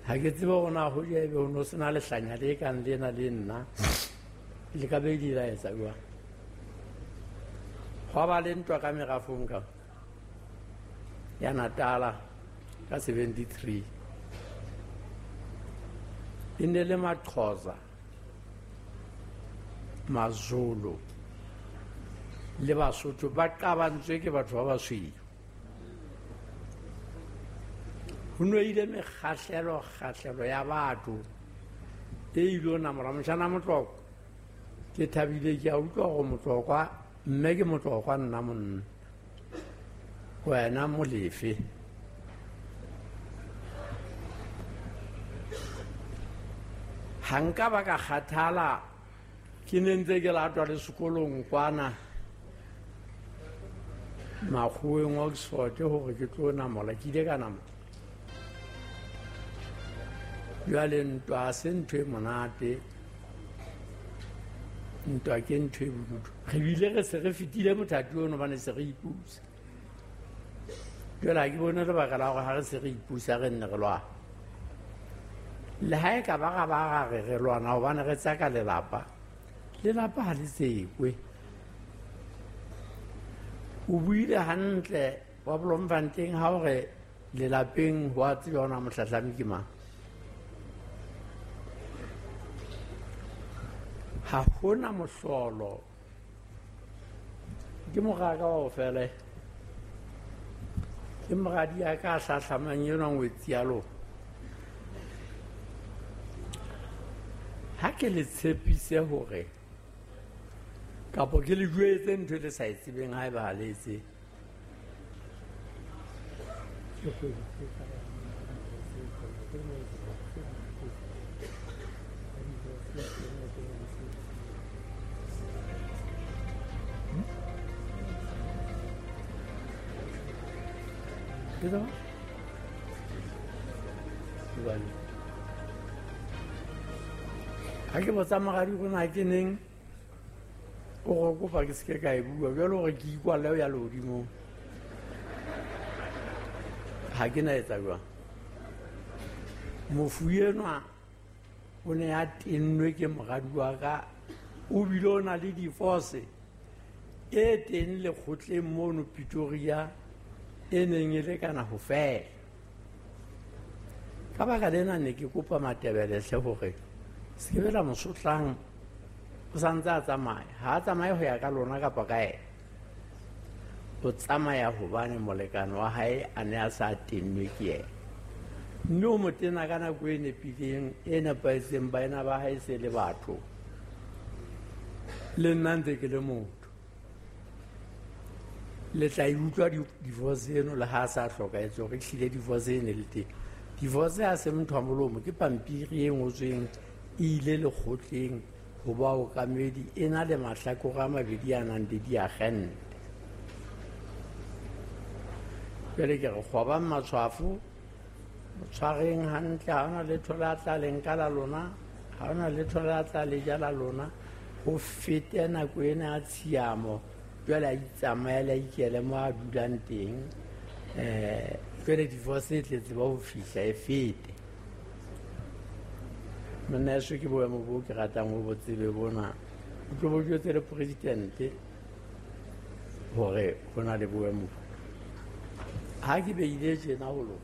Ha ke tsebe hore na hoja ebe ho no sena lehlanya le kang lena le nna, le ka be di la etsa jwang. Hwa ba le ntwa ka merafong ka ya Natala ka 73. E ne le Maxhosa, Mazulu le Basotho ba qabantswe ke batho ba basweu. Ho no ile mekgahlelo kgahlelo ya batho e ilo namora motjhana Motlokwa. Ke thabile ke a utlwa hore Motlokwa, mme ke Motlokwa nna monna, wena Molefe. Ha nka ba ka kgathala, ke ne ntse ke latwa le sekolong kwana makgoweng Oxford hore ke tlo namola, ke ile ka namola. Jwale ntwa ha se ntho e monate, ntwa ke ntho e bodutu. Re bile re se re fetile mothati ono hobane se re ipusa. Jwale ha ke bone lebaka la hore ha re se re ipusa re nne re lwana. Le ha e ka ba ra ba ra re re lwana hobane re tsaka lelapa, lelapa ha le tsekwe. O buile hantle wa Bloemfontein ha o re lelapeng ho a tseba hore na mohlahlami ke mang. Ha hona mohlolo. Ke moraka wa ho fela. Ke moradi ya ka hlahlamang enwa ngwetsi ya lona. Ha ke le tshepise hore kapo ke le jwetse ntho e le sa e tsebeng haeba ha le e tsebe. Ke tsona? Hobane ha ke botsa moradi hore na ke neng o re kopa ke seke ka e bua, jwale hore ke ikwalle ho ya lehodimong. Ha ke na etsa jwang. Mofu enwa o ne a tennwe ke moradi wa ka, o bile o na le divorce e teng lekgotleng mono Pretoria e neng e lekana ho fela. Ka baka lena ne ke kopa Matebelehle hore se ke bela mosotlang, o sa ntse a tsamaya. Ha a tsamaye ho ya ka lona kapa ka yena. O tsamaya hobane molekane wa hae a ne a sa tennwe ke yena. Mme o mo tena ka nako e nepileng, e nepahetseng, baena ba hae se le batho. Le nna ntse ke le motho. Le tla e utlwa divorce eno le ha a sa hlokahetse hore ehlile divorce e ne le teng. Divorce ha se motho wa molomo, ke pampiri e ngotsweng e ile lekgotleng ho baokamedi, e na le mahlakore a mabedi a nang le diagente. Jwale ke re kgobang matshwafo, tshwareng hantle, ha hona letho le a tla le nka la lona, ha hona letho le a tla le ja la lona, ho fete nako ena ya tshiamo, jwale a itsamaele, a ikele mo a dulang teng. Jwale divorce e tletse ba ho fihla e fete. Monna heso ke boemo bo ke ratang ho bo tsebe bona. O tlo bo jwetse le presidente hore ho na le boemo bo. Ha ke beile tjena ho lona,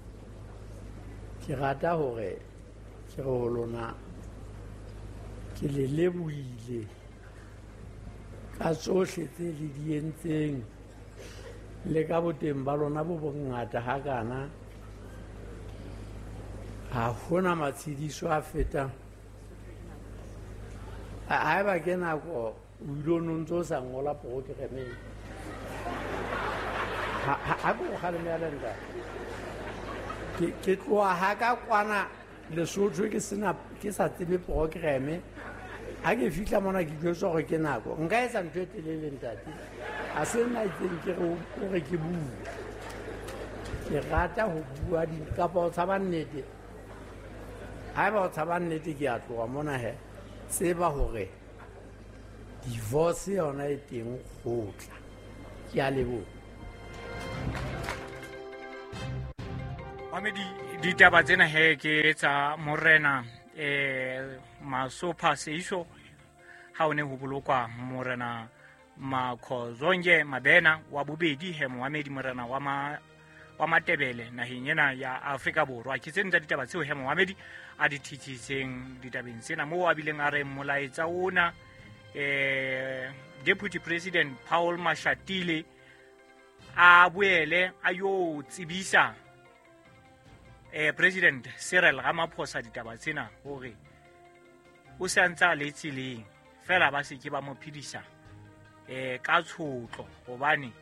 ke rata hore ke re ho lona ke le lebohile ka tsohle tse le di entseng le ka boteng ba lona bo bongata hakana. Ha hona matshediso a fetang. Haeba ke nako o ile o no ntso o sa ngola programeng. Ha ke o kgalemela ntate. Ke tloha ha ka kwana Lesotho ke sena, ke sa tsebe programme. Ha ke fihla mona ke jwetswa hore ke nako. Nka etsa ntho e telele ntate. Ha se nna itseng ke re o re ke bue. Ke rata ho bua di kapa o tshaba nnete. Haeba o tshaba nnete ke a tloha mona he. Tseba hore divorce yona e teng kgotla. Ke a leboha. Mamedi, ditaba tsena he ke tsa morena Masopha Seiso ha o ne ho bolokwa morena Makhozonke Mabena wa bobedi he momamedi, morena wa Matebele naheng ena ya Afrika Borwa. Ke tseno tsa ditaba tseo he momamedi a di thitsitseng ditabeng tsena, moo a bileng a re molaetsa ona Deputy President Paul Mashatile a boele a yo tsebisa President Cyril Ramaphosa ditaba tsena, hore o se a ntse a le tseleng, fela ba se ke ba mo phedisa ka tshotlo, hobane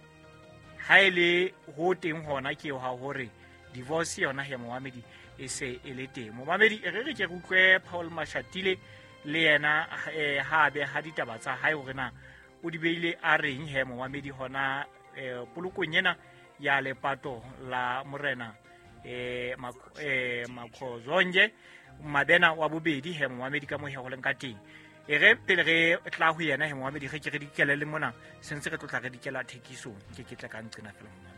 ha e le ho teng hona ke ha hore divorce yona he momamedi e se e le teng. Momamedi, e re re ke re utlwe Paul Mashatile le yena ha a beha ditaba tsa hae hore na o di beile a reng he momamedi hona polokong ena ya lepato la morena Makhozonke Mabena wa bobedi he momamedi, ka mo he go leng ka teng. E re pele re tla ho yena he momamedi, ge ke re dikele le mona sentse re tlotla re dikela thekisong, ke ke tla ka nqena fela momamedi.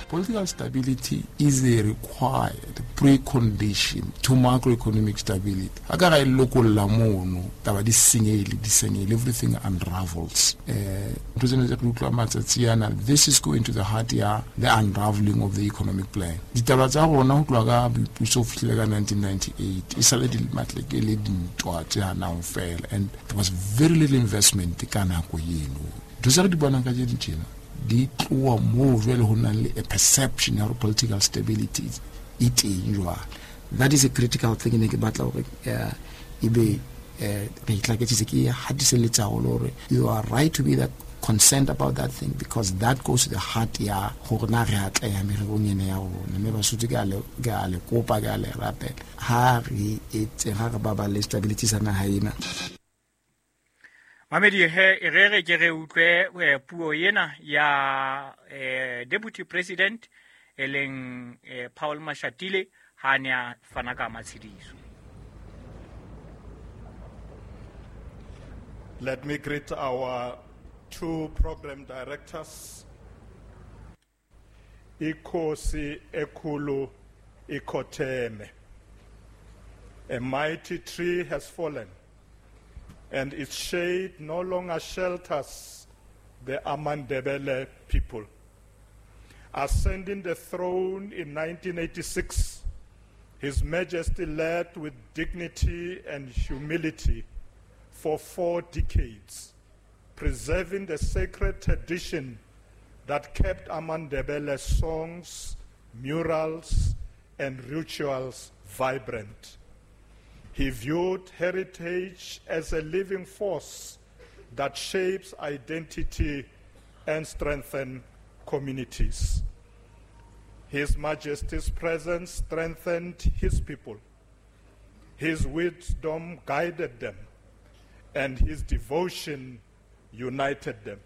Political stability is a required precondition to macroeconomic stability. A ka ga e lokolla mono, taba di senyehile, di senyehile, everything unravels. Ntho tsena tse re utlwa matsatsi ana, this is going to the heart ya the unraveling of the economic plan. Ditaba tsa rona ho tloha ka boipuso ho fihlile ka 1998, e sale di matleke le dintwa tse hanang fela, and there was very little investment ka nako eno. Ntho tse re di bonang ka jeno tjena di tloha moo jwale ho nang le a perception ya hore political stability e teng jwale. That is a critical thing ne ke batla hore ebe re itlaketsitse, ke hatiselletsa haholo hore you are right to be that concerned about that thing, because that goes to the heart ya hore na re atleha mererong ena ya rona. Mme Basotho, ke a le kopa, ke a le rapela, ha re etse, ha re baballe stability sa naha ena. Mamedi he, e re re ke re utlwe puo ena ya Deputy President e leng Paul Mashatile ha ne a fana ka matshediso. Let me greet our two program directors. Ikosi Ekulu Ikoteme. A mighty tree has fallen, and its shade no longer shelters the Amandebele people. Ascending the throne in 1986, His Majesty led with dignity and humility for 4 decades, preserving the sacred tradition that kept Amandebele songs, murals, and rituals vibrant. He viewed heritage as a living force that shapes identity and strengthens communities. His Majesty's presence strengthened his people. His wisdom guided them, and his devotion united them,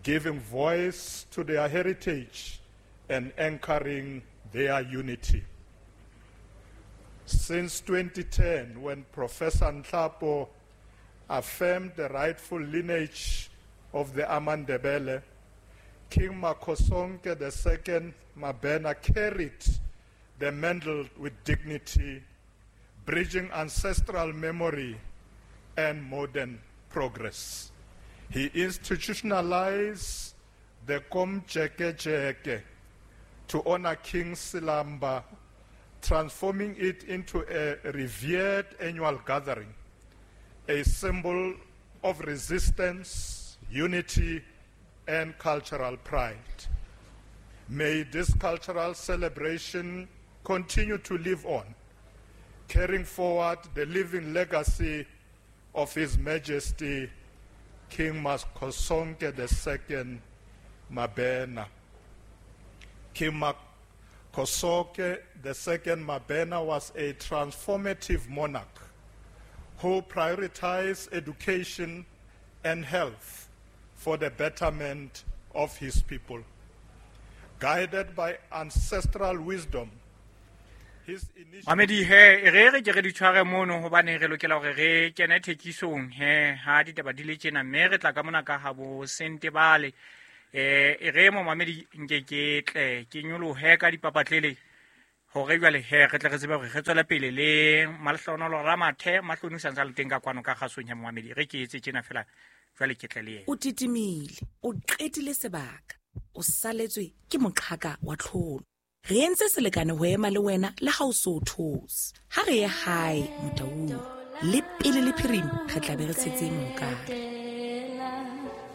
giving voice to their heritage and anchoring their unity. Since 2010, when Professor Nhlapo affirmed the rightful lineage of the Amandebele, King Makhosonke II Mabena carried the mantle with dignity, bridging ancestral memory and modern progress. He institutionalized the Komjekejeke to honor King Silamba, transforming it into a revered annual gathering, a symbol of resistance, unity, and cultural pride. May this cultural celebration continue to live on, carrying forward the living legacy of His Majesty King Makhosonke II Mabena. King Makhosonke II Mabena was a transformative monarch who prioritized education and health for the betterment of his people. Guided by ancestral wisdom, his initial... Mamedi he, e re re ke re di tshware mono hobane re lokela hore re kene thekisong he ha ditaba di le tjena, mme re tla ka mona ka ha bo Sentebale. E re mo mamedi nke ke tle ke nyolohe ka dipapatlele Hore jwale he re tle re tsebe hore re tswele pele le Malehlohonolo Ramathe. Mahloni o santse a le teng ka kwano ka kgasong ya momamedi. Re ke etse tjena fela jwale ke tle le yena. O titimile, o qetile sebaka, o saletswe ke moqhaka wa tlholo. Re entse selekane ho ema le wena le ha o so o those. Ha re ye hae Motaung, le pele le phirima re tla be re tshetse mohokare.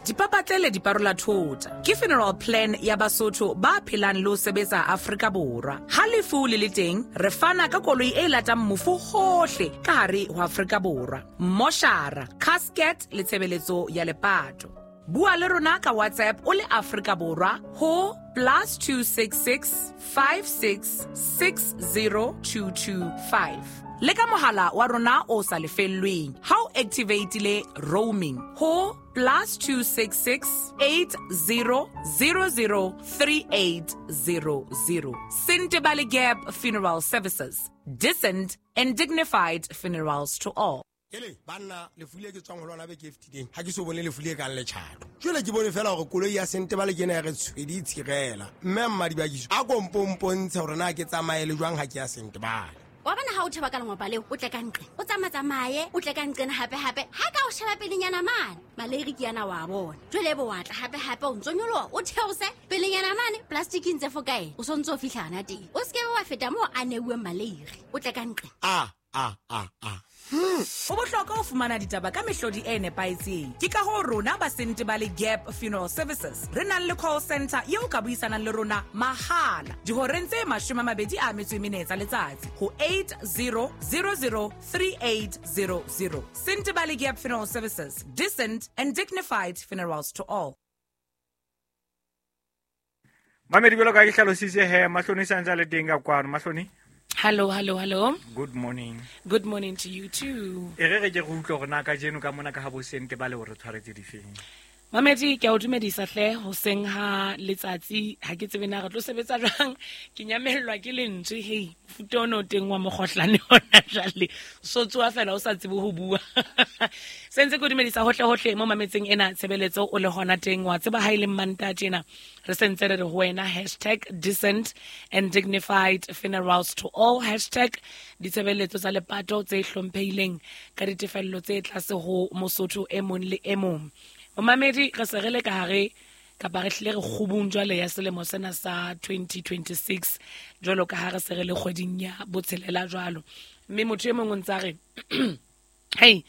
Dipapatlele di parola thota ke funeral plan ya Basotho ba phelang le ho sebetsa Afrika Borwa. Ha lefu le le teng, re fana ka koloi e latang mofu hohle ka hare ho Afrika Borwa. Moshara, casket le tshebeletso ya lepato. Bua le rona ka WhatsApp o le Afrika Borwa ho +266 56 60225. Le ka mohala wa rona o sa lefellweng ha o activateile roaming ho +266 80 00 3800. Sentebale Gap Funeral Services. Decent and dignified funerals to all. Ele banna lefu le ke tswang ho lona beke e fetileng ha ke so bone lefu le kang letjhato. Jwale ke bone fela hore koloi ya Sentebale ke ena ya re tshwedi tshirela. Mme Mmadibakiso a kompompontshe hore na ke tsamaye le jwang ha ke ya Sentebale. Wa bona ha o theba ka lengwapa leo, o tle ka nqe. O tsamaye, o tle ka nqena hape hape. Ha ka o sheba pelenyana mane, maleiri ke yana wa bona. Jwale bo wa tla hape hape o ntso nyoloha, o theose pelenyana mane, plastic ntse fo kae. O sontso o fihla teng. O seke wa feta moo a neuweng maleiri. O tle ka nqe. A a a a. Ho bohlokwa ho fumana ditaba ka mehlodi e nepahetseng. Ke ka hoo rona ba Sentebale Gap Funeral Services re nang le call center eo ka buisanang le rona mahala dihoreng tse 24 tsa letsatsi ho 8000 3800. Sentebale Gap Funeral Services, decent and dignified funerals to all. Mamedi jwalo ka ke hlalositse he, Mahloni santse a le teng ka kwano. Mahloni. Hello, hello, hello. Good morning. Good morning to you too. E re re ke re utlwe hore na kajeno ka mona ka ha bo Sentebale hore tshwaretse difeng. Mamedi, ke a o dumedisa hle hoseng ha letsatsi, ha ke tsebe na re tlo sebetsa jwang, ke nyamellwa ke lentswe, hei, mofuta ona o teng wa mokgohlane hona jwale. So tsoha fela o sa tsebe ho bua. Sentse ke o dumedisa hohle hohle mo mametseng ena tshebeletso o le hona teng, wa tseba ha e le Mmantaha tjena. Re sentse re re ho wena hashtag decent and dignified funerals to all, hashtag ditshebeletso tsa lepato tse hlomphehileng ka ditefello tse tlase ho Mosotho e mong le e mong. Momamedi, re se re le ka hare kapa re hlile re kgubung jwale ya selemo sena sa 2026 jwalo ka ha re se re le kgweding ya botshelela jwalo. Mme motho e mong o ntsa re hey,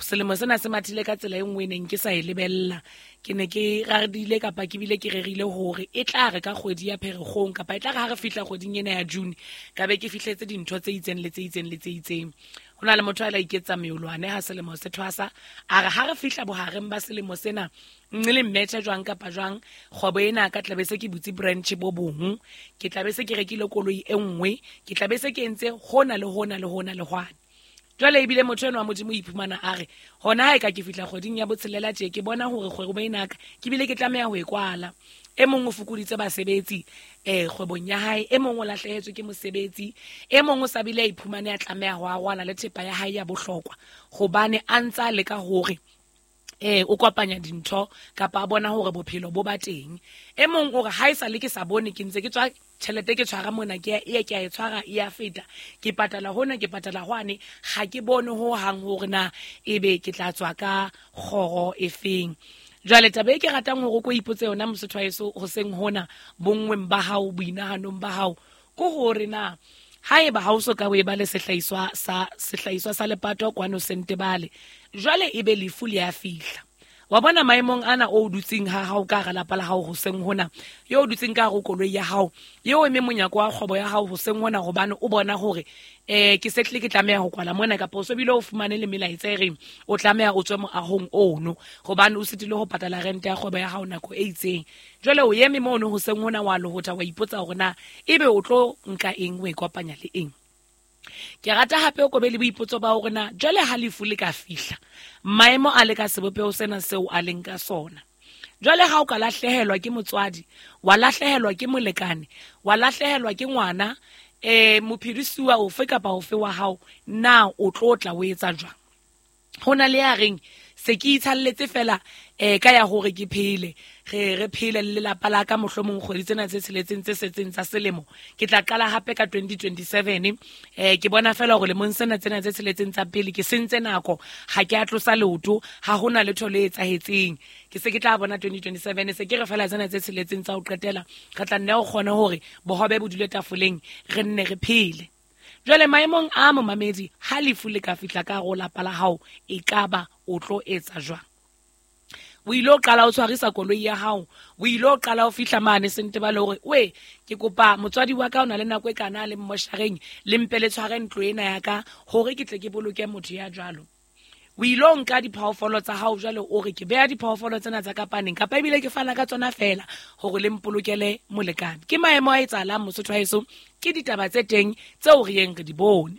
selemo sena se mathile ka tsela e nngwe e neng ke sa e lebella. Ke ne ke raredile kapa ke bile ke rerile hore e tla re ka kgwedi ya Pherekgong kapa e tla re ha re fihla kgweding ena ya June ka be ke fihletse dintho tse itseng le tse itseng le tse itseng. Ho na le motho a la iketsa meolwane ha selemo se thwasa, a re ha re fihla bohareng ba selemo sena nne le mmetjha jwang kapa jwang, kgwebo ena ka tla be se ke butse branch bo bong, ke tla be se ke rekile koloi e nngwe, ke tla be se ke entse hona le hona le hona le hwane. Jwale ebile motho enwa wa Modimo o iphumana a re hona ha e ka ke fihla kgweding ya botshelela tje ke bona hore kgwebo ena ka ke bile ke tlameha ho e kwala. E mong o fokoditse basebetsi kgwebong ya hae, e mong o lahlehetswe ke mosebetsi, e mong o sa bile a iphumane a tlameha ho arwana le thepa ya hae ya bohlokwa hobane a ntsa leka hore o kopanya dintho kapa a bona hore bophelo bo ba teng. E mong o re ha e sa le ke sa bone ke ntse ke tswa tjhelete ke tshwara mona ke e ke a e tshwara e a feta, ke patala hona ke patala hwane, ha ke bone ho hang hore na ebe ke tla tswa ka kgoro e feng. Jwale taba e ke ratang hore o ko ipotse yona Mosotho wa heso hoseng hona bonngweng ba hao, boinahanong ba hao, ke hore na haeba ha o so ka o eba le sehlahiswa sa lepato kwano Sentebale, jwale ebe lefu le a fihla. Wa bona maemong ana o dutseng ha hao ka hara lapa la hao hoseng hona, yo o dutseng ka hare ho koloi ya hao, yo o eme monyako wa kgwebo ya hao hoseng hona hobane o bona hore ke se tlile ke tlameha ho kwala mona, kapa o so bile o fumane le melaetsa e reng o tlameha o tswe moahong ono hobane o sitile ho patala rente ya kgwebo ya hao nako e itseng. Jwale o eme mono hoseng hona wa lohotha wa ipotsa hore na ebe o tlo nka eng o e kopanya le eng. Ke rata hape o kobe le boipotso ba hore na jwale ha lefu le ka fihla, maemo a le ka sebopeho sena seo a leng ka sona. Jwale ha o ka lahlehelwa ke motswadi, wa lahlehelwa ke molekane, wa lahlehelwa ke ngwana, mophedisuwa ofe kapa ofe wa hao, na o tlo tla o etsa jwang? Ho na le ya reng Se ke itshalletse fela ka ya hore ke phele, re phele le lelapa la ka mohlomong kgwedi tsena tse tsheletseng tse setseng tsa selemo. Ke tla qala hape ka 2027. Ke bona fela hore lemong sena tsena tse tsheletseng tsa pele ke sentse nako, ha ke a tlosa leoto, ha hona letho le etsahetseng. Ke se ke tla bona 2027, se ke re fela tsena tse tsheletseng tsa ho qetela re tla nne o kgone hore bohobe bo dule tafoleng, re nne re phele. Jwale maemong a momamedi, ha lefu le ka fihla ka hare ho lapa la hao, e kaba o tlo etsa jwang? O ile o qala o tshwarisa koloi ya hao, o ile o qala o fihla mane Sentebale hore we ke kopa motswadi wa ka o na le nako e kana le mmoshareng, le mpe le tshware ntlo ena ya ka hore ke tle ke boloke motho ya jwalo. O ile o nka diphoofolo tsa hao jwale o re ke beha diphoofolo tsena tsa ka paneng, kapa ebile ke fana ka tsona fela hore le mpolokele molekane. Ke maemo a etsahalang Mosotho wa heso, ke ditaba tse teng tseo re yeng re di bone.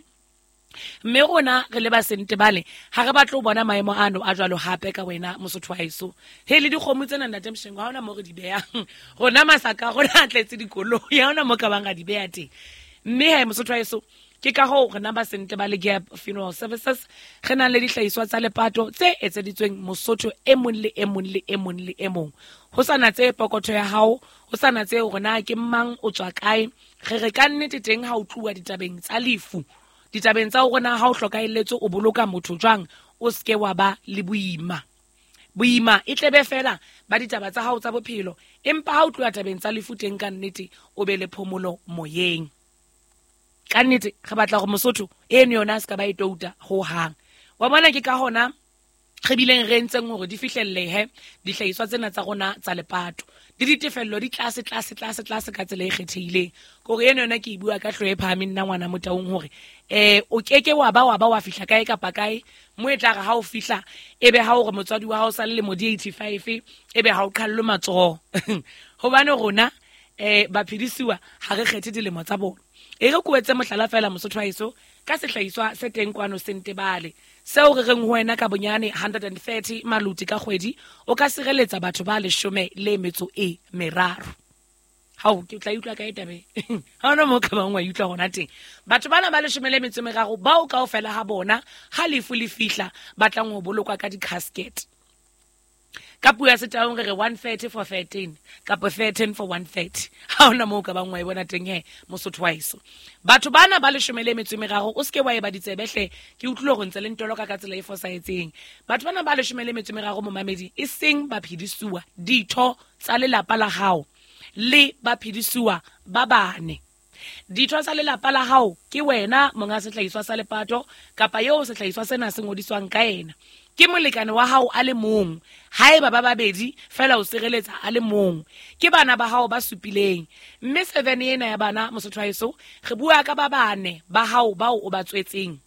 Mme rona re le ba Sentebale ha re batle ho bona maemo ano a jwalo hape ka wena Mosotho wa heso. He le dikgomo tsena ntate Mshengo, ha hona mo re di behang. Rona masaka a rona a tletse dikoloi, ha hona mo ka bang ra di beha teng. Mme he Mosotho wa heso, ke ka hoo rena ba Sentebale Gap Funeral Services re nang le dihlahiswa tsa lepato tse etseditsweng Mosotho e mong le e mong le e mong le e mong. Ho sa natse pokotho ya hao, ho sa natse hore na ke mang, o tswa kae. Re re ka nnete teng ha o tluwa ditabeng tsa lefu, ditabeng tsa hore na ha o hlokahelletswe o boloka motho jwang, o seke wa ba le boima. Boima e tlebe fela ba ditaba tsa hao tsa bophelo, empa ha o tluwa tabeng tsa lefu teng ka nnete o be le phomolo moyeng. Ka nnete re batla hore Mosotho eno yona a se ka ba e touta ho hang. Wa bona ke ka hona re bileng re entseng hore di fihlellehe dihlahiswa tsena tsa rona tsa lepato. Le ditefello di tlase, tlase, tlase, tlase ka tsela e kgethehileng. Ke hore eno yona ke e bua ka hlooho e phahameng nna ngwana Motaung hore, o keke wa ba wa ba wa fihla kae kapa kae, mo e tla re ha o fihla ebe ha o re motswadi wa hao sa le lemo di 85, ebe ha o qhallwe matsoho. Hobane rona, baphedisiwa ha re kgethe dilemo tsa bona. E re ko etse mohlala fela Mosotho wa heso ka sehlahiswa se teng kwano Sentebale, seo re reng ho wena ka bonyane 130 maluti ka kgwedi, o ka sireletsa batho ba 13. Hao, ke tla utlwa kae taba e? Ha hona moo ka bang wa utlwa hona teng. Batho bana ba 13 bao kaofela ha bona ha lefu le fihla ba tlang ho bolokwa ka di-casket. Ka puo ya Setaung re re 130 for 13 kapa 13 for 130. Ha hona moo ka bang wa e bona teng he Mosotho wa heso. Batho bana ba 13 o seke wa e ba ditsebe hle, ke utlwile hore ntse le ntoloka ka tsela e fosahetseng. Batho bana ba 13 momamedi, e seng baphedisuwa, ditho tsa lelapa la hao le baphedisuwa ba bane. Ditho tsa lelapa la hao ke wena monga sehlahiswa sa lepato kapa eo sehlahiswa sena se ngodiswang ka yena. Ke molekane wa hao a le mong, haeba ba babedi fela o sireletsa a le mong. Ke bana ba hao ba supileng. Mme 7 ena ya bana Mosotho wa heso, re bua ka ba bane ba hao bao o ba tswetseng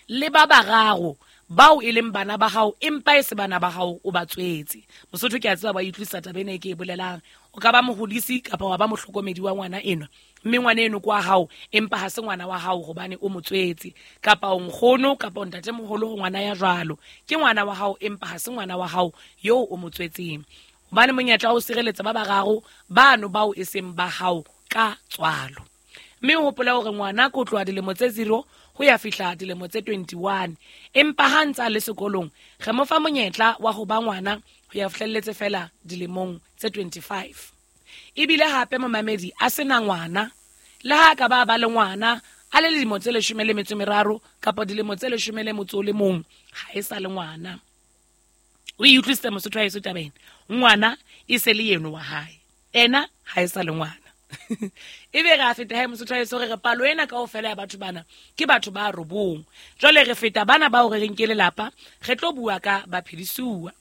le ba bararo bao e leng bana ba hao empa e se bana ba hao o ba tswetse. Mosotho ke a tseba ba utlwisisa taba ena e ke e bolelang. O ka ba mohodisi kapa wa ba mohlokomedi wa ngwana enwa, mme ngwana eno ke wa hao empa ha se ngwana wa hao hobane o mo tswetse, kapa o nkgono kapa o ntatemoholo ho ngwana ya jwalo, ke ngwana wa hao empa ha se ngwana wa hao yo o mo tswetseng. Hobane monyetla wa ho sireletsa ba bararo bano bao e seng ba hao ka tswalo. Mme o hopola hore ngwana ko tloha dilemo tse 0 ho ya fihla dilemo tse 21, empa ha ntse a le sekolong re mo fa monyetla wa ho ba ngwana ho ya fihlelletse fela dilemong tse 25. Ebile hape momamedi a sena ngwana, le ha ka ba ba le ngwana a le dilemo tse 13 kapa dilemo tse 11, ha e sa le ngwana. O e utlwisitse Mosotho wa heso taba ena? Ngwana e se le yeno wa hae, ena ha e sa le ngwana. Ebe re a feta he Mosotho wa heso, re re palo ena kaofela ya batho bana ke batho ba 9. Jwale re feta bana bao re reng ke lelapa, re tlo bua ka baphedisuwa.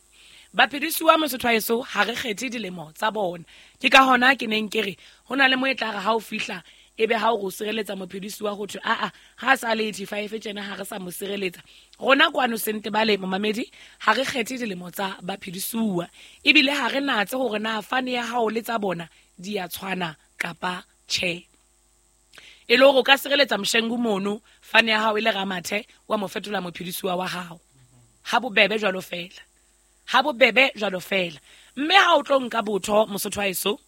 Baphedisuwa Mosotho wa heso ha re kgethe dilemo tsa bona. Ke ka hona ke neng ke re ho na le mo e tla re ha o fihla ebe ha o re o sireletsa mophedisuwa ho thwe aa ha sa le 85 tjena ha re sa mo sireletsa. Rona kwano Sentebale momamedi ha re kgethe dilemo tsa baphedisuwa, ebile ha re natse hore na fane ya hao le tsa bona di a tshwana kapa tjhe. E le hore o ka sireletsa Mshengu mono, fane ya hao e le Ramathe, wa mo fetola mophedisuwa wa hao. Ha bobebe jwalo fela. Ha bobebe jwalo fela. Mme ha o tlo nka botho Mosotho wa heso,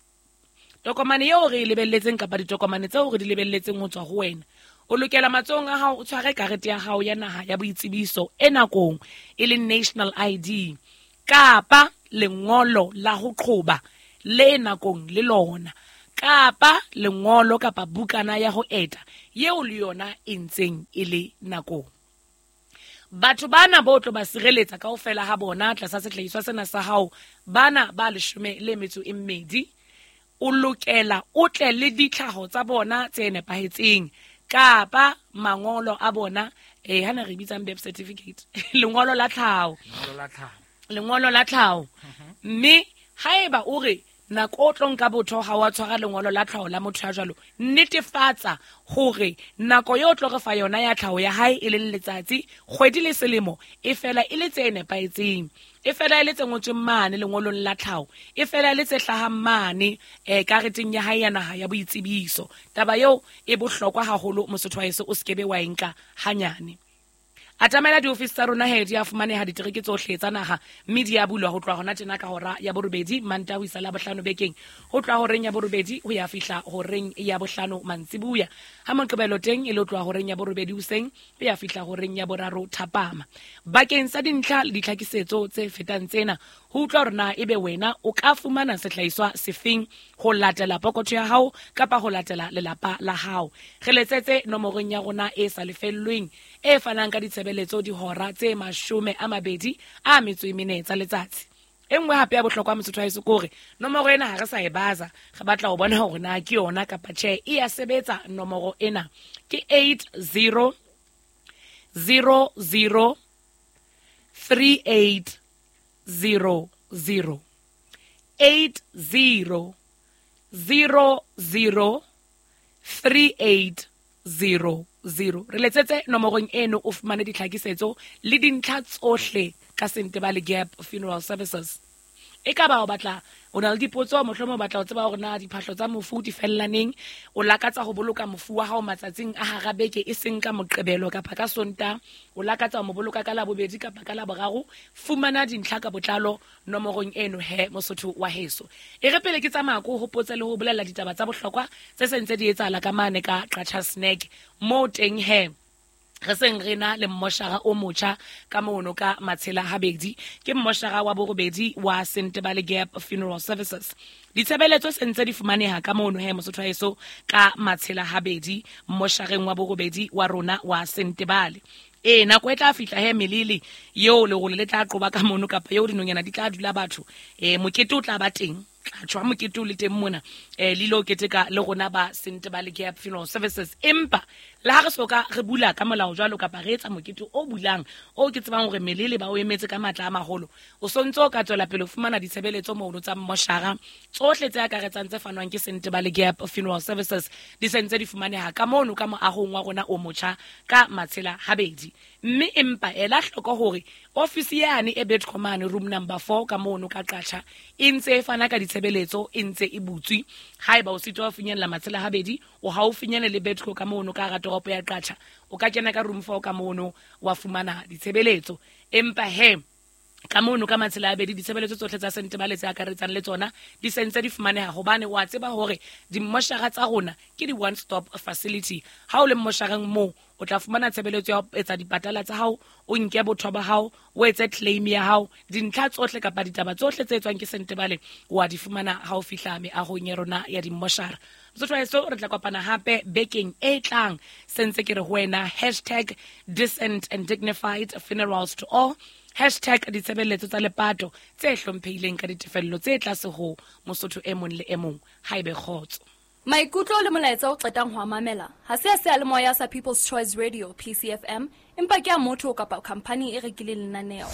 tokomane eo re e lebelletseng kapa ditokomane tseo re di lebelletseng ho tswa ho wena, O lokela matsohong a hao o tshware karete ya hao ya naha ya boitsebiso e nakong, e leng national ID, kapa lengolo la ho qhoba le nakong le lona, kapa lengolo kapa bukana ya ho eta yeo le yona e ntseng e le nakong. Batho bana bo tlo ba sireletsa kaofela ha bona tlasa sehlahiswa sena sa hao, bana ba 12, o lokela o tle le ditlhaho tsa bona tse nepahetseng kapa mangolo a bona, hana re bitsang birth certificate, lengolo la tlhaho, lengolo la tlhaho. Mme haeba o re nako o tlo nka botho ha wa tshwara lengolo la tlhaho la motho ya jwalo, netefatsa hore nako eo tlo re fa yona ya tlhaho ya hae e leng letsatsi, kgwedi le selemo e fela e le tse nepahetseng, e fela e le tse ngotsweng mane lengolong la tlhaho, e fela e le tse hlahang mane kareteng ya hae ya naha ya boitsebiso. Taba eo e bohlokwa haholo, Mosotho wa heso, o sekebe wa e nka hanyane. Atamela diofisi tsa rona he, di a fumaneha ditereke tsohle tsa naha, mme di a bulwa ho tloha hona tjena ka hora ya 8 Mantaha ho isa Labohlano bekeng, ho tloha horeng ya 8 ho ya fihla horeng ya 5 mantsibuya. Ha Moqebelo teng e le ho tloha horeng ya 8 hoseng ho ya fihla horeng ya 3 thapama. Bakeng sa dintlha le ditlhakisetso tse fetang tsena, ho utlwa hore na ebe wena o ka fumana sehlahiswa sefeng ho latela pokotho ya hao kapa ho latela lelapa la hao, re letsetse nomorong ya rona e sa lefellweng e fanang ka ditshebeletso dihora tse 24 tsa letsatsi. E nngwe hape ya bohlokwa Mosotho wa heso ke hore nomoro ena ha re sa e baza, re batla ho bona hore na ke yona kapa tjhe, e ya sebetsa nomoro ena. Ke 80 00 38 00 80 00 38 00. Re letsetse nomorong eno o fumane ditlhakisetso le dintlha tsohle ka Sentebale Gap Funeral Services. E ka ba o batla, o na le dipotso, mohlomong o batla ho tseba hore na diphahlo tsa mofu di fellaneng, o lakatsa ho boloka mofu wa hao matsatsing a hara beke e seng ka Moqebelo kapa ka Sontaha, o lakatsa ho mo boloka ka Labobedi kapa ka Laboraro, fumana dintlha ka botlalo nomorong eno he, Mosotho wa heso. E re pele ke tsamaya ko hopotse le ho bolella ditaba tsa bohlokwa tse sentse di etsahala ka mane ka Qacha Snack, moo teng he re seng re na le mmoshara o motjha ka mono ka Matshela Habedi, ke mmoshara wa 8 wa Sentebale Gap Funeral Services. Ditshebeletso sentse di fumaneha ka mono he, Mosotho wa heso, ka Matshela Habedi, mmoshareng wa 8 wa rona wa Sentebale. Nako e tla fihla he melele eo lerole le tla qoba ka mono kapa eo dinonyana di tla dula batho, mokete o tla ba teng, tla tjwa mokete o le teng mona, le lo keteka le rona ba Sentebale Gap Funeral Services. Empa le ha re soka re bula ka molao jwalo kapa re etsa mokete o bulang o ke tsebang hore melele ba o emetse ka matla a maholo, o sontso o ka tswela pele ho fumana ditshebeletso mono tsa mmoshara tsohle tse akaretsang tse fanwang ke Sentebale Gap Funeral Services di sentse di fumaneha ka mono ka moahong wa rona o motjha ka Matshela Habedi. Mme empa ela hloko hore ofisi yane e Betcomane room number 4 ka mono ka Qacha e ntse e fana ka ditshebeletso, e ntse e butswe. Haeba o sitwa ho finyella Matshela Habedi, o haufinyane le Betco ka mono ka hara toropo ya Qacha, o ka kena ka room 4 ka mono wa fumana ditshebeletso. Empa he ka mono ka Matshela Habedi ditshebeletso tsohle tsa Sentebale tse akaretsang le tsona di sentse di fumaneha, hobane wa tseba hore dimmoshara tsa rona ke di one stop facility. Ha o le mmoshareng moo o tla fumana tshebeletso ya ho etsa dipatala tsa hao, o nke botho ba hao, o etse claim ya hao, dintlha tsohle kapa ditaba tsohle tse etswang ke Sentebale wa di fumana ha o fihla meahong ya rona ya dimmoshara. Mosotho wa heso, re tla kopana hape bekeng e tlang. Sentse ke re ho wena hashtag decent and dignified funerals to all, hashtag ditshebeletso tsa lepato tse hlomphehileng ka ditefello tse tlase ho Mosotho e mong le e mong. Haebe kgotso. Maikutlo le molaetsa o qetang ho a mamela ha se a seyalemoya sa People's Choice Radio PCFM, empa ke a motho kapa khampani e rekileng lenaneo.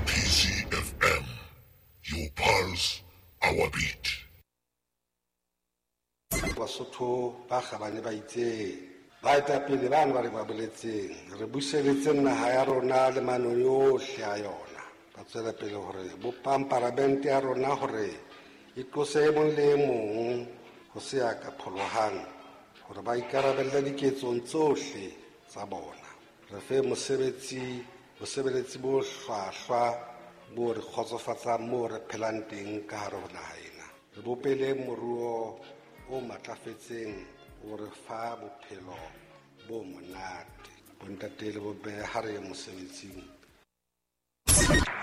PCFM, your pulse, our beat. Basotho ba kgabane ba itseng, baetapele bana ba re ba boletseng, re buseletse naha ya rona le manong yohle a yona. Ba tswela pele hore bopang paramente ya rona hore e tlose e mong le e mong ho se ya ka pholohang, hore ba ikarabelle diketsong tsohle tsa bona. Re fe bosebeletsi bo hlwahlwa bo re kgotsofatsang moo re phelang teng ka hare ho naha ena. Re bopele moruo o matlafetseng o re fa bophelo bo monate. Bontate le bomme ha re ye mosebetsing.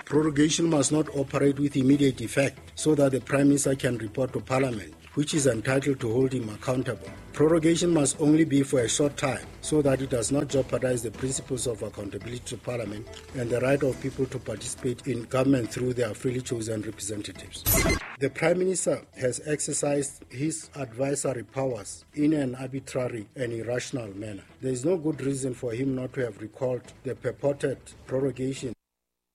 Prorogation must not operate with immediate effect so that the Prime Minister can report to Parliament, which is entitled to hold him accountable. Prorogation must only be for a short time so that it does not jeopardize the principles of accountability to Parliament and the right of people to participate in government through their freely chosen representatives. The Prime Minister has exercised his advisory powers in an arbitrary and irrational manner. There is no good reason for him not to have recalled the purported prorogation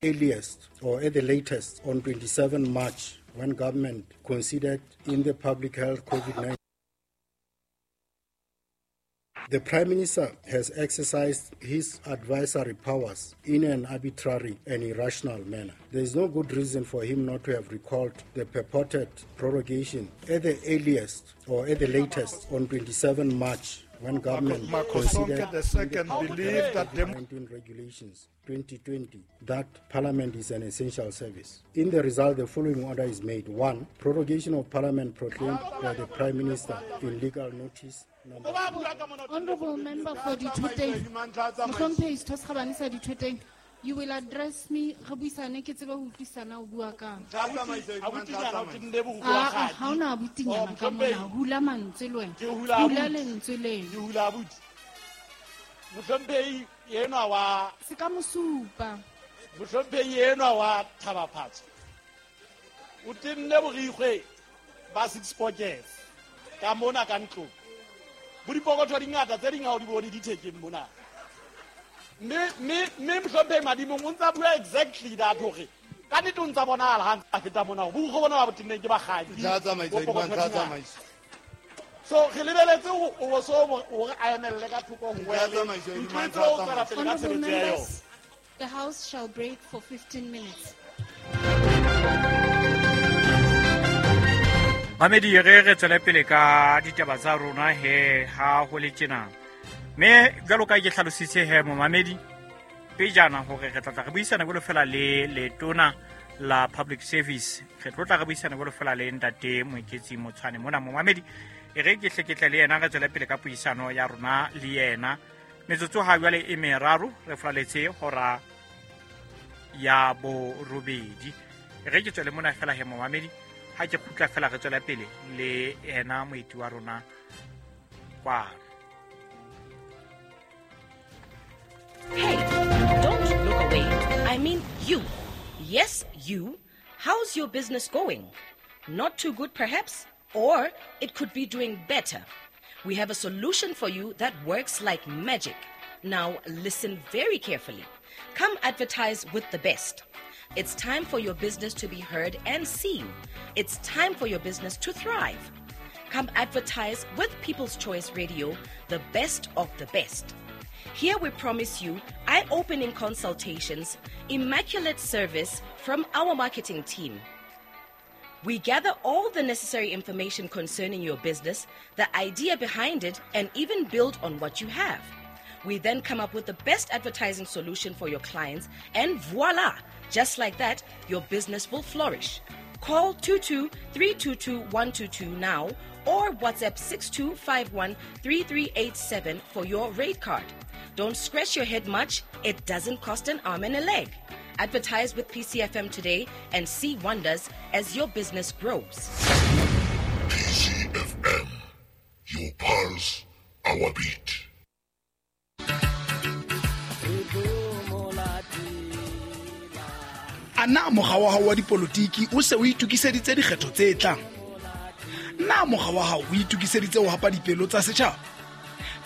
earliest or at the latest on 27 March, when government considered in the public health COVID-19. The Prime Minister has exercised his advisory powers in an arbitrary and irrational manner. There is no good reason for him not to have recalled the purported prorogation at the earliest or at the latest on 27 March, when government considered the second believe that the 19 regulations 2020 that Parliament is an essential service. In the result, the following order is made. 1. Prorogation of Parliament proclaimed by the Prime Minister in legal notice number. Honorable Member for Dithoteng, Mohlomphehi Setho se Kgabane sa Dithoteng, you will address me re buisane ke tsebe ho utlwisana o bua kang. Ha hona abutinyana ka mona, hula mantswe le wena. Hula lentswe leno. Ke hula abuti. Mohlomphehi enwa wa se ka mosupa. Mohlomphehi enwa wa Thabaphatso. O tenne borikgwe ba six pockets ka mona ka ntlong. Bo dipokotho di ngata tse ding ha o di bone di thekeng mona. Mme Mohlomphehi Madimong o ntsa bua exactly that hore ka nnete o ntsa bonahala ha ntsa feta mona hore borikgwe bona ba bo tenneng ke bakgadi. So re lebeletse o so hore a emelle ka thoko ho wele. Ntho o tswela pele ka tshebetso ya yona. The House shall break for 15 minutes. Mamedi re tswele pele ka ditaba tsa rona he ha ho le tjena. Mme jwalo ka ke hlalositse he momamedi pejana hore re tla re buisana jwalo fela le letona la public service. Re tlo tla re buisana jwalo fela le ntate Moeketsi Motshwane mona momamedi. E re ke hle le yena re tswele pele ka puisano ya rona le yena. Metsotso ha jwale e meraro re flaletse hora ya borobedi. E re ke tswele mona fela he momamedi. Ha ke kgutla fela re tswela pele le yena moeti wa rona kwano. Hey, don't look away. I mean you. Yes, you. How's your business going? Not too good, perhaps? Or it could be doing better. We have a solution for you that works like magic. Now, listen very carefully. Come advertise with the best. It's time for your business to be heard and seen. It's time for your business to thrive. Come advertise with People's Choice Radio, the best of the best. Here we promise you eye-opening consultations, immaculate service from our marketing team. We gather all the necessary information concerning your business, the idea behind it, and even build on what you have. We then come up with the best advertising solution for your clients, and voila! Just like that, your business will flourish. Call 22-322-122 now or WhatsApp 6251-3387 for your rate card. Don't scratch your head much. It doesn't cost an arm and a leg. Advertise with PCFM today and see wonders as your business grows. PCFM, your pulse, our beat. Ana mokga wa hao wa dipolotiki o se o itokiseditse dikgetho tse tlang? Na mokga wa hao o itokiseditse ho hapa dipelo tsa setjhaba?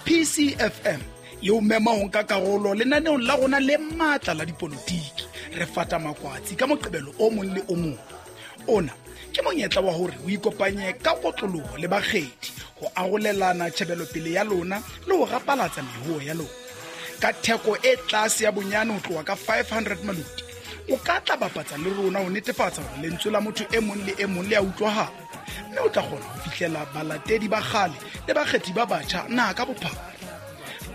PCFM e o mema ho nka karolo lenaneong la rona le matla la dipolotiki. Re fata makwatsi ka Moqebelo o mong le o mong. Ona ke monyetla wa hore o ikopanye ka kotloloho le bakgethi ho arolelana tjhebelopele ya lona le ho rapalatsa mehuo ya lona. Ka theko e tlase ya bonyane ho tloha ka 500 maloti, o ka tla bapatsa le rona ho netefatsa hore lentswe la motho e mong le e mong le a utlwahala, mme o tla kgona ho fihlela balatedi ba kgale le bakgethi ba batjha naha ka bophara.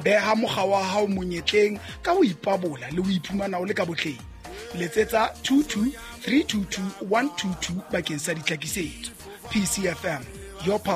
Beha mokga wa hao monyetleng ka ho ipabola le ho iphumana o le ka botleng. Letsetsa 22 322 122 bakeng sa ditlhakisetso. PCFM, your power.